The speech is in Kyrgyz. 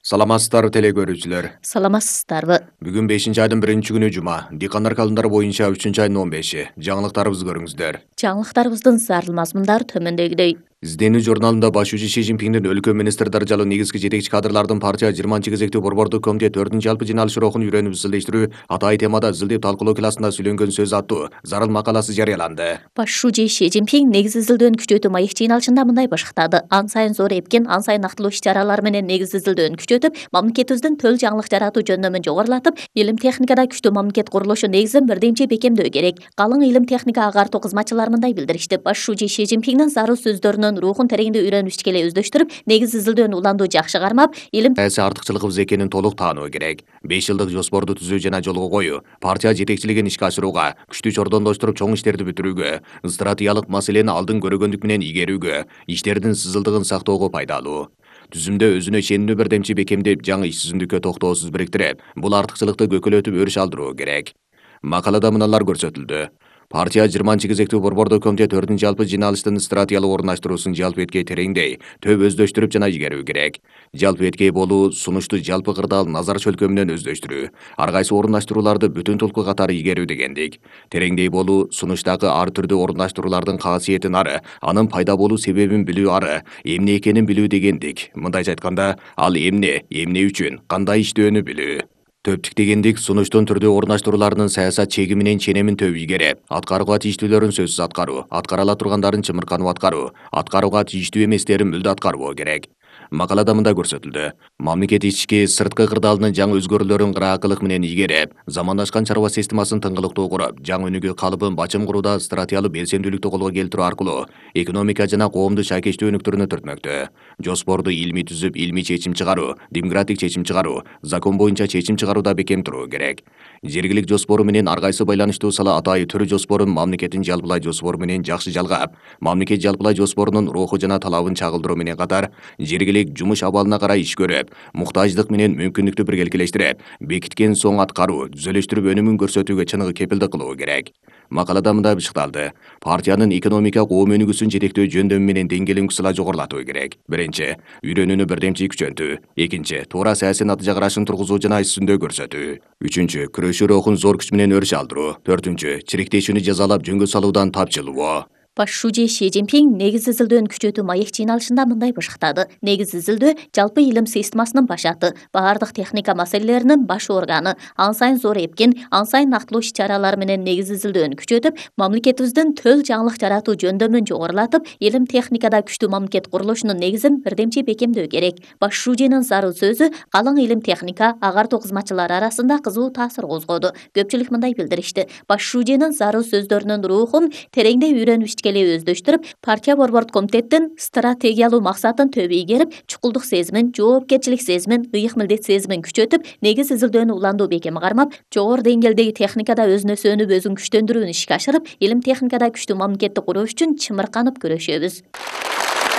Саламатсыздарбы теле көрүүчүлөр. Саламатсыздарбы. Бүгүн 5-айдын 1-күнү жума. Дикандар календары боюнча 3-айдын 15-и. Жаңылыктарыбызды көрүңүздөр. Жаңылыктарыбыздын зарыл мазмундары төмөндөгүдөй. Изденүү журналында башчы Си Цзиньпиндин өлкө министр даражалуу негизги жетекчи кадрлардын партия 20 кезектүү борбордук комитет 4-жалпы жыйналышы рухун үйрөнүп изилдештирүү атайын темада изилдеп талкуулоо классында сүйлөнгөн сөз аттуу зарыл макаласы жарыяланды. Башчы Си Цзиньпин негиз изилдөөнү күчөтүү маек жыйналышында мындай башыктады. Ан сайын зор эпкин, ан сайын нактылуу иш-чаралар менен негиз изилдөөнү күчөтүп, мамлекетибиздин төл жаңылык жаратуу жөндөмүн жогорулатып, илим техникада күчтүү мамлекет курулушу негизин бирдемчи бекемдөө керек. Калың илим техника агартуу кызматчылары мындай билдиришти. Башчы Си Цзиньпиндин зарыл сөздөрүнүн рухун тереңдүү үйрөнүп ичкеле өздөштүрүп, негиз изилдөөнү улантуу жакшы кармап, илим артыкчылыгыбыз экенин толук таануу керек. 5 жылдык жоспорду түзүү жана жолго коюу, партия жетекчилигин ишке ашырууга, күчтүү чордондоштуруп чоң иштерди бүтүрүүгө, стратегиялык маселени алдын көргөндүк менен игерүүгө, иштердин сызылдыгын сактоого пайдалуу. Түзүмдө өзүнө ишенүүнү бирдемчи бекемдеп, жаңы иш түзүмдүккө токтоосуз бириктирип, бул артыкчылыкты көкөлөтүп өрүш алдыруу керек. Макалада мыналар көрсөтүлдү. Партия 20 кезектүү борбордук комитет 4-жалпы жыйналыштын стратегиялык орундаштыруусун жалпы эткей тереңдей, төп өздөштүрүп жана игерүү керек. Жалпы эткей болуу, сунушту жалпы кырдаал назар чөлкөмүнөн өздөштүрүү, ар кайсы орундаштырууларды бүтүн толку катары игерүү дегендик. Тереңдей болуу, сунуштагы ар түрдүү орундаштыруулардын касиетин ары, анын пайда болуу себебин билүү ары, эмне экенин билүү дегендик. Мындайча айтканда, ал эмне үчүн, кандай иштөөнү билүү. Төптүк дегендик сунуштун түрдүү орундаштырууларынын саясат чеги менен ченемин төп игерип, аткарууга тийиштүүлөрүн сөзсүз аткаруу, аткара ала тургандарын чымырканып аткаруу, аткарууга тийиштүү эместерин мүлдө аткарбоо керек. Макалада мындай көрсөтүлдү. Мамлекет ички, сырткы кырдаалынын жаңы өзгөрүүлөрүн кыраакылык менен игерип, замандашкан чарба системасын тыңгылыктуу куруп, жаңы өнүгүү калыбын бачым курууда стратегиялык белсендүүлүктү колго келтирүү аркылуу экономика жана коомду шайкечтүү өнүктүрүүнү түртмөктө. Жоспорду илмий түзүп, илмий чечим чыгаруу, демократик чечим чыгаруу, закон боюнча чечим чыгарууда бекем туруу керек. Жергилик жоспору менен ар кайсы байланыштуу сала атайы түрү жоспорун мамлекеттин жалпылай жоспору менен жакшы жалгап, мамлекет жалпылай жоспорунун руху жана талабын чагылдыруу менен катар, жергилик жумуш абалына карай иш көрүп, муктаждык менен мүмкүндүктү биргелектештирип, бекиткен соң аткаруу, түзөлүштүрүп өнүмүн көрсөтүүгө чыныгы кепилдик кылуу керек. Макалада мындай бышыкталды. Партиянын экономика коом өнүгүүсүн жетектөө жөндөмү менен деңгээлин кысыла жогорулатуу керек. Биринчи, үйрөнүүнү бирдемчи күчөтүү. Экинчи, туура саясий натыйжа карашын тургузуу жана иш жүзүндө көрсөтүү. Үчүнчү, күрөшүү рухун зор күч менен өрүш алдыруу. Төртүнчү, чириктешүүнү жазалап жөнгө салуудан тапчылоо. Башчы Си Цзиньпин негиз изилдөөнү күчөтүү маек жыйналышында мындай башыктады. Негиз изилдөө жалпы илим системасынын башаты, баардык техника маселелеринин баш органы, ан сайын зор эпкин, ан сайын нактылуу иш-чаралар менен негиз изилдөөнү күчөтүп, мамлекетибиздин төл жаңылык жаратуу жөндөмүн жогорулатып, илим техникада күчтүү мамлекет курулушунун негизин бирдемчи бекемдөө керек. Башчынын зарыл сөзү калың илим техника агартуу кызматчылары арасында кызуу таасир козгоду. Көпчүлүк мындай билдиришти. Башчынын зарыл сөздөрүнүн рухун тереңдей үйрөнүп өздөштүрүп, партия борбордук комитеттин стратегиялуу максатын төбө ийгерип, чукулдук сезимин, жоопкерчилик сезимин, ыйык милдет сезимин күчөтүп, негиз изилдөөнү улантуу бекем кармап, жогору деңгээлдеги техникада өзүнө сөнүп, өзүн күчтөндүрүүнү ишке ашырып, илим техникада күчтүү мамлекетти куруу үчүн чымырканып күрөшөбүз.